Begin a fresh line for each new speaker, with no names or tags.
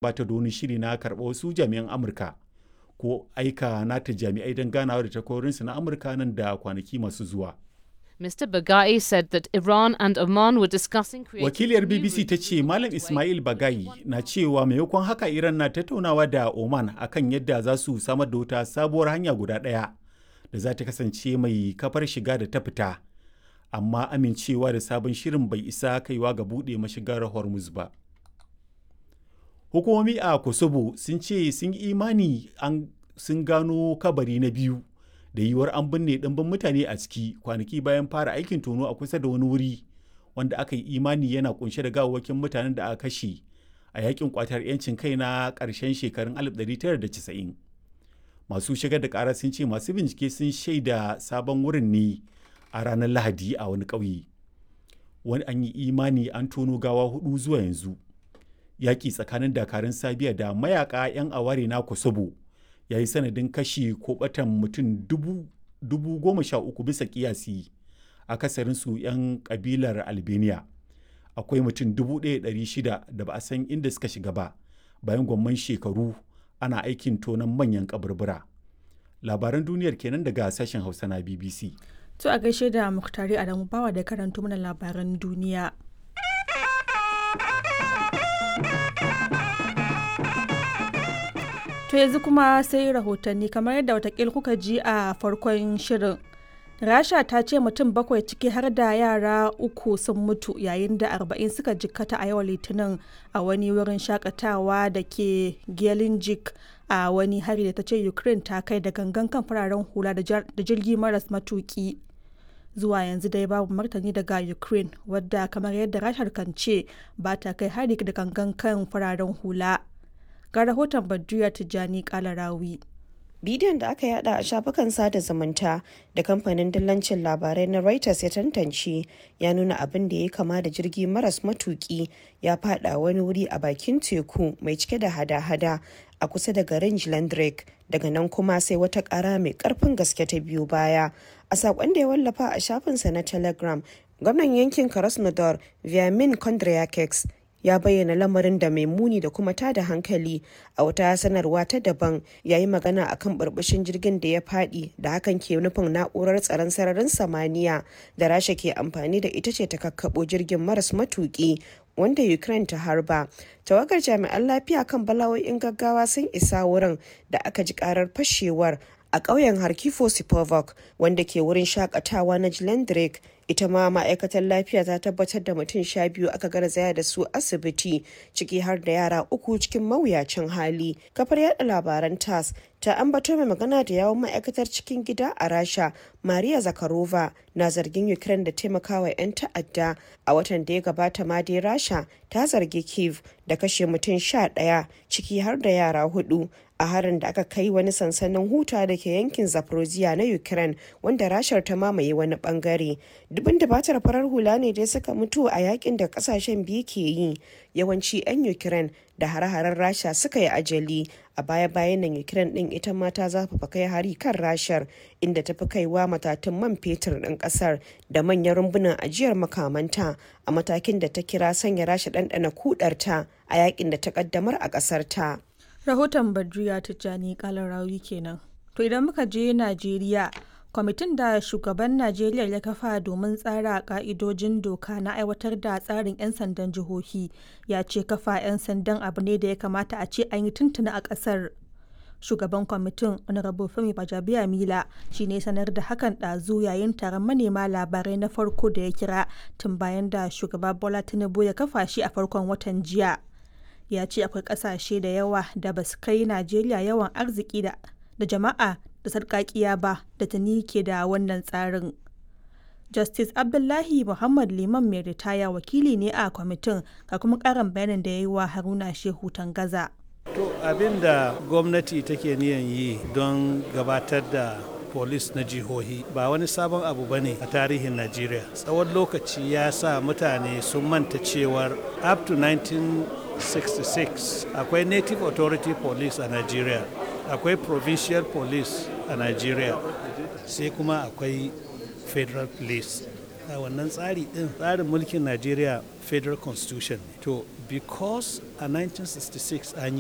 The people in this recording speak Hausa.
Ba ta da wani shiri na karɓar wasu jami'an Amurka ko aika nata jami'ai don ganawa da takwarorinsu na Amurka nan da kwanaki masu zuwa.
Mr. Bagai said that Iran and Oman were discussing creating
Wakiliyar
new
BBC ta
routes
ce Malam
to
Ismail Bagai na cewa maimakon haka Iran na tattaunawa da Oman akan yadda za su samar da wata sabuwar hanya guda ɗaya da za ta kasance mai kafar shiga da ta fita. Amma amincewa da sabon shirin bai isa kaiwa ga buɗe mashigar Hormuz ba. Hukumomi a Kosovo sun ce sun yi imani an sun gano kabari na biyu da yiwuwar an binne ɗimbin mutane a ciki kwanaki bayan fara aikin tono a kusa da wani wuri wanda aka yi imani yana kunshe da gawawwakin mutanen da aka kashe a yakin kwatar 'yancin kai na ƙarshen shekarun 1990. Masu shigar da ƙara sun ce masu bincike sun shaida sabon wurin ne a ranar Lahadi a wani ƙauye. Wani an yi imani an tono gawa hudu zuwa yanzu. Yaƙi tsakanin dakarun Sabiya da mayaƙa 'yan aware na Kosovo ya yi sanadin kashe ko ɓatan mutum 13,000 bisa ƙiyasi, akasarinsu 'yan ƙabilar Albania. Akwai mutum 1,600 da ba a san inda suka shiga ba bayan gwamman shekaru ana aikin tonon manyan kaburbura. Labaran duniyar kenan daga sashen Hausa na BBC.
To a gaishe da Muktari Adamu Bawa da karanto mana labaran duniya. To yanzu kuma sai rahotanni kamar yadda watakil kuka ji a farkon shirin. Rasha ta ce mutum bakwai ciki har da yara uku sun mutu yayin da 40 suka jikkata a yau Litinin a wani wurin shakatawa da ke Gelendzhik a wani hari da ta ce Ukraine ta kai da gangan kan fararen hula da jirgi maras matuki. Zuwa yanzu dai babu martani daga Ukraine wadda kamar yadda Rashar kan ce ba ta kai hari da gangan kan fararen hula. Ga rahoton Badriya Tijjani Kalarawi.
Bidiyon da aka yada a shafukan sada zumunta da kamfanin dillancin labarai na Reuters ya tantance ya nuna abin da ya kama da jirgi maras matuki ya fada wani wuri a bakin teku mai cike da hada-hada a kusa da garin Jlandrek. Daga nan kuma sai wata kara mai karfin gaske ta biyo baya. A saƙon da ya wallafa a shafinsa na Telegram, gwamnan yankin Krasnodar Vyamin Kondryakeks ya bayyana lamarin da mai muni da kuma tada hankali. A wata sanarwa ta daban, ya yi magana akan burbushin jirgin da ya fadi da hakan ke nufin na'urar tsaron sararin samaniya da Rasha ke amfani da ita ce ta kakkabo jirgin maras matuki wanda Ukraine ta harba. Tawagar jami'an lafiya kan bala'o'in gaggawa sun isa wurin da aka ji karar fashewar a ƙauyen Harkifo Sipovok wanda ke wurin shakatawa na Jlendrik. Ita ma ma'aikatar lafiya ta tabbatar da mutum 12 aka garzaya da su asibiti, ciki har da yara uku cikin mawuyacin hali. Kafar yada labaran TASS ta ambato mai magana da yawon ma'aikatar cikin gida a Rasha, Maria Zakharova, na zargin Ukraine da taimakawa 'yan ta'adda. A watan da ya gabata ma dai Rasha ta zargi Kiev da kashe mutum 11, ciki har da yara hudu, a harin da aka kai wani sansanin huta da ke yankin Zaporozhye na Ukraine wanda Rashar ta mamaye wani bangare. Dubin dubatar farar hula ne dai suka mutu a yakin da kasashen biyu ke yi, yawanci 'yan Ukraine da hare-haren Rasha suka yi ajali. A baya-bayan nan Ukraine din ita ma ta zafafa kai hari kan Rashar, inda ta fi kaiwa matatun man fetur din kasar da manyan rumbunan ajiyar makamanta, a matakin da ta kira sanya Rasha ɗanɗana kudarta a yakin da ta kaddamar a kasar ta.
Rahoton Badriya Tijjani Kalarawi kenan. To idan muka je Najeriya, kwamitin da shugaban Najeriya ya kafa domin tsara ka'idojin doka na aiwatar da tsarin 'yan sandan jihohi ya ce kafa 'yan sandan abu ne da ya kamata a ce an yi tuntuni a ƙasar. Shugaban kwamitin, Honorable Femi Bajabiya Mila, shi ne sanar da hakan ɗazu yayin taron manema labarai na farko da ya kira tun bayan da shugaba Bola Tinubu ya kafa shi a farkon watan jiya. Ya ce akwai kasashe da yawa da ba su kai Najeriya yawan arziki da jama'a da sarkakiya ba da tuni ke da wannan tsarin. Justice Abdullahi Muhammad Liman mai ritaya wakili ne a kwamitin, ga kuma karin bayanin da ya yi wa Haruna Shehu Tangaza.
To, abin da gwamnati take niyan yi don gabatar da polis na jihohi ba wani sabon abu ba ne a tarihin Najeriya. Tsawon lokaci ya sa mutane sun manta cewar up to 1966 akwai Native Authority Police a Najeriya, akwai Provincial Police a Najeriya, sai kuma akwai Federal Police. A wannan tsari din, tsarin mulkin Najeriya, Federal Constitution ne. To, Because a 1966 an yi